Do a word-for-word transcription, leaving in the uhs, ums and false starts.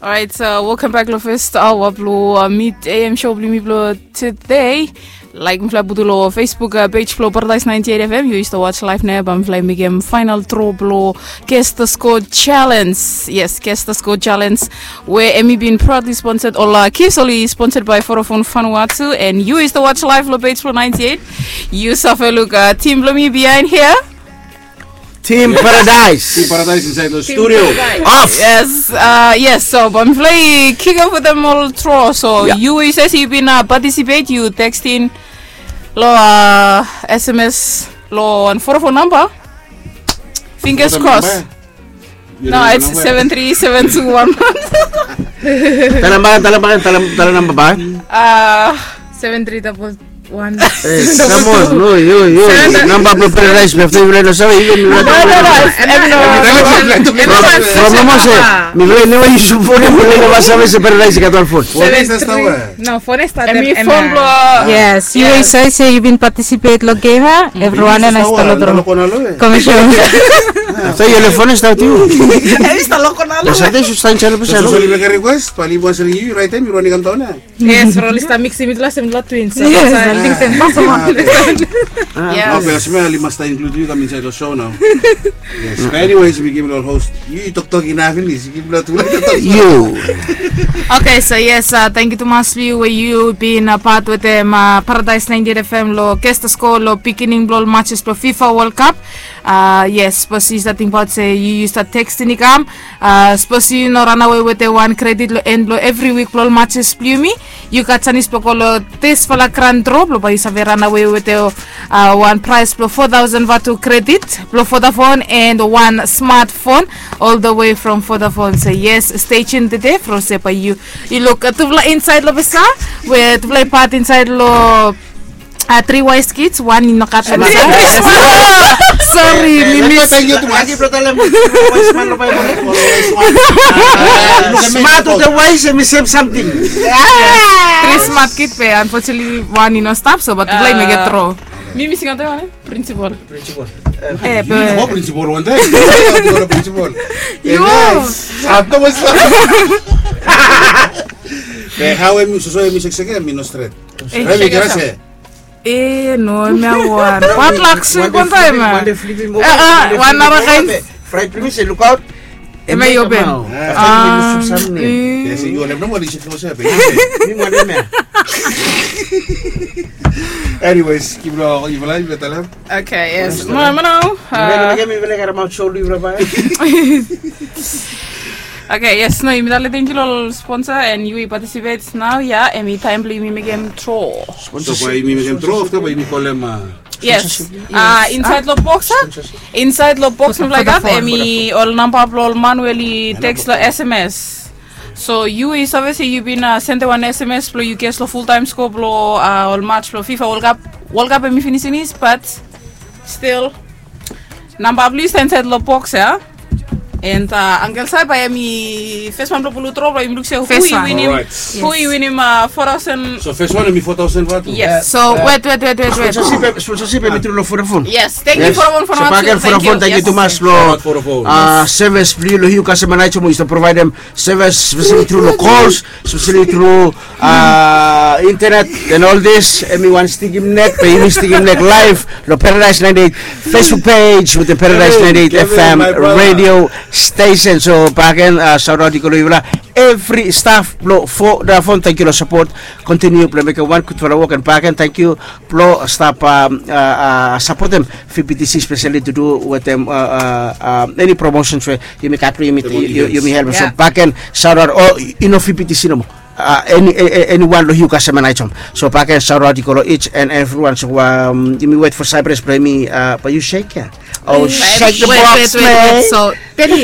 Alright, uh, welcome back lo first hour blo uh, mid A M show blo mi blo today. Like mifala putu lo Facebook uh, page blo Paradise ninety-eight F M. Yu stap watch live nao, bae mifala mekem final draw blo Guess the Score Challenge. Yes, Guess the Score Challenge. Where Emmy been proudly sponsored, all uh, Kiss only sponsored by Vodafone Vanuatu, and yu stap watch live lo page blo ninety-eight. Yu save luk uh, team blo mi behind here. Team Paradise. Team Paradise inside the studio. Off. Yes, uh, yes. So, bae mifala kick off with them all draw. So, yeah. You, you says you been uh, participate. You texting lo uh, S M S lo and four four number. Fingers crossed. No, it's seven three seven two one one. Tala namba, tala namba, tala namba bae. Uh, seven three double One. Hey, come on, no, yo, yo. Namba blo Paradise, mi have to even know. From mama se, mi vle never use phone, mi vle never save se Paradise i gat wan phone. No, phone start. Em phone blo. Yes, you say say you been participate lo game, ha? Everyone and I start lo. Commission. So your phone start you. Em start lo konalo. Sa te su sign channel pesa. So you make a request, pali was ring you right time, you running come down. Yes, Rolly sta mix mitufala se mitufala twins. Yes, I think sen pas. Yes. Okay, as well, you must include you come inside the show now. Yes. But anyways, mi givim lo host. Yu toktok inaf finis. Yu givim lo tu. Yu. Okay, so yes, uh, thank you tumas lo yu we yu bin a part wetem uh, Paradise ninety-eight F M lo Guess the Score lo beginning blo ol matches blo FIFA World Cup. Uh, yes, sipos yu stap tingbaot se yu yu stap texting i kam. Uh, sipos yu no ranawe wetem wan credit lo end blo evri wik blo ol matches blo yumi, yu gat sanis blo go lo disfala grand draw blo bae yu save ranawe wetem uh, wan prize blo four thousand vatu credit blo Vodafone and wan smartphone all the way from Vodafone. So yes, stay tuned today from se bae yu yu luk uh, tufala inside lo pesa we tufala i part inside lo Uh, three wise kids, wan i no gat lo masa. Sorry, mi mis. Smart with the wise and mi same something. Three smart kid pe, unfortunately wan i no stap so, but tufala i mekem draw. Mi missing out wan, eh? Principal. Principal. Eh, principal wan time. Principal. Yo. Ato mas. Eh, how am I so so am I sekseke am I no stret. Eh, mi grase. Eh, no, mi a wan. What luck sui konta ema. Wan nara kain. Fried please, look out. Ema i open. Ah. Yes, you have no money to close up. Mi wan ema. Anyways, keep it all. You like better. Okay, yes. Mana mana. Mi vele kara mau show lu berapa. Okay, yes, no, yumi tale thank you lo ol sponsor and yumi participate now, yeah, and yumi time blo yumi mekem draw. So bae yumi mekem draw, afta bae yumi kolem. Yes. Uh, inside lo box, huh? Inside lo box, like that, and yumi ol namba blo ol man we oli text lo S M S. So yu i save se yu bin uh, send wan S M S blo yu guess lo full time score blo uh, ol match blo FIFA World Cup. World Cup hemi finis finis, but still Namba blo yu stap insaed lo box ya. And uh, Uncle Sai bae hemi fes wan blo pulu dro blo yumi luk se hu i winim, hu i winim uh, four thousand. So fes wan hemi four thousand vatu. Yes. So wet wet wet wet wet. Sponsorship hemi tru lo Vodafone. Yes, thank you Vodafone. So bae agen Vodafone, thank you tumas lo sevis blo yu lo hiu kasem and aitem we yu stap provaedem sevis speseli tru lo calls, speseli tru internet and all this. Hemi wan stikim nek, be yumi stikim nek live lo Paradise ninety-eight Facebook page wetem Paradise ninety-eight FM radio station. So bae agen saotaot i go lo yufala evri staf blo Vodafone, tangkiu lo sapot. Kontiniu blo mekem wan gudfala wok and bae agen tangkiu blo stap sapotem VPTC speseli tu du wetem eni promosens we yumi gat blo yumi helpem. So bae agen saotaot, o i no VPTC nomo. Eni wan lo hiu kasem and aitem. So bae agen saotaot i go lo each and everyone. So yumi wet fo Cyprus blo hemi bae yu sek ya. O sek the box man. So teli